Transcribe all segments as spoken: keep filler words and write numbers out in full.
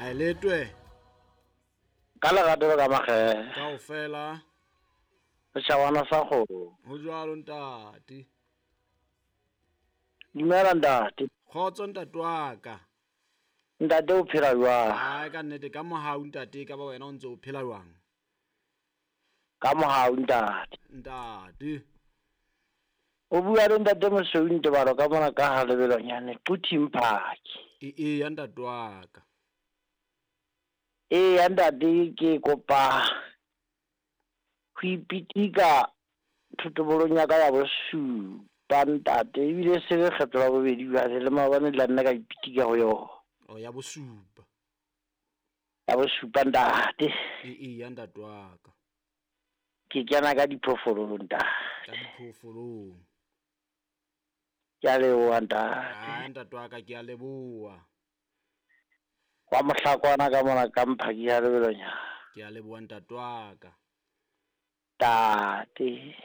Ha letwe. Ka lerato le ka makgethe. Kaofela. Setjhabana sa kgomo. Ho jwalo ntate. Dumela ntate. Kgotso ntate wa ka. Ntate o phela jwang? Hai ka nnete ka mohau ntate, ka ba wena o ntse o phela jwang? Ka mohau ntate. Ntate. O bua le ntate Mosweu Ntebalo ka mona ka ha lebelonyane Quthing Park. E e ya ntate wa ka. E ya ntate ke kopa ho ipitika thotobolong ya ka ya bosupa ntate, ebile se le kgetlo la bobedi jwale le maobane la nna ka ipitika ho yona. O ya bosupa. Ya bosupa ntate. E e ya ntate wa ka. Ke kena ka diphoofolong ntate. Ka diphoofolong. Ke a leboha ntate. Ah ntate wa ka ke a leboha. Wa mohlakwana ka mona ka Mphaki ya lebelonyana. Ke a leboha ntate wa ka. Tate.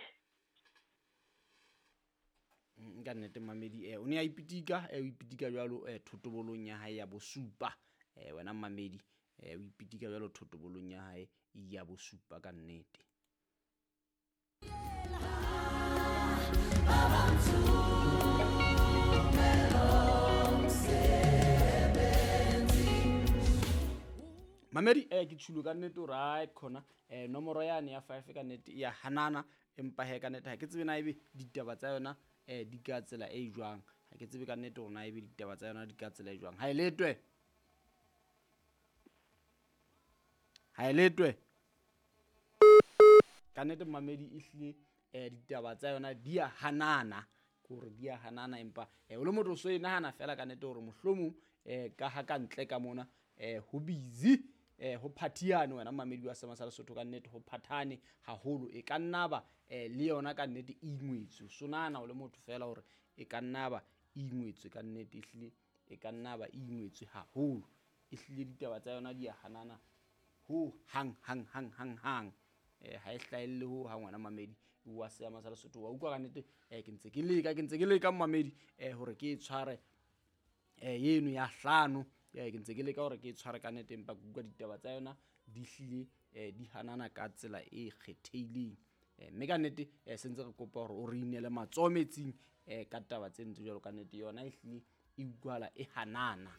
Nka nnete mamedi eh o ne a ipitika eh o ipitika jwalo eh thotobolong ya hae ya bosupa eh wena mamedi eh o ipitika jwalo thotobolong ya hae ya bosupa ka nnete. Mamedi eh ke tshulo ka nnete o right khona eh nomoro yane ya five ka nnete ya hanana empa he ka nnete ha ke tsebe na ebe ditaba tsa yona eh di ka tsela e jwang, ha ke tsebe ka nnete hore na ebe ditaba tsa yona di ka tsela e jwang. Ha e letwe, ha e letwe ka nnete mamedi ehlile eh ditaba tsa yona di a hanana, kore di a hanana empa eh o le motho so e nahana fela ka nnete hore mohlomong eh ka ha ka ntle ka mona eh ho busy eh ho phatiane wena mamedi wa Sema sa Lesotho ka nnete ho phathane haholo, e ka nna ba eh le yona ka nnete e ingwetswe. So nahana o le motho fela hore e ka nna ba ingwetswe ka nnete, ehlile e ka nna ba ingwetswe haholo, ehlile ditaba tsa yona di a hanana ho hang hang hang hang hang eh ha e hlahelle ho ha ngwana mamedi wa Sema sa Lesotho wa utlwa ka nnete eh ke ntse ke leka ke ntse ke leka mamedi eh hore ke e tshware eh yeno ya hlano eh ke ntse ke leka hore ke e tshware ka nnete empa ke utlwa ditaba tsa yona di hlile eh di hanana ka tsela e kgethehileng eh mme ka nnete eh sentse re kopa hore o re inele matsoho metsing eh ka taba tse ntse jwalo ka nnete yona e hlile e utlwala e hanana.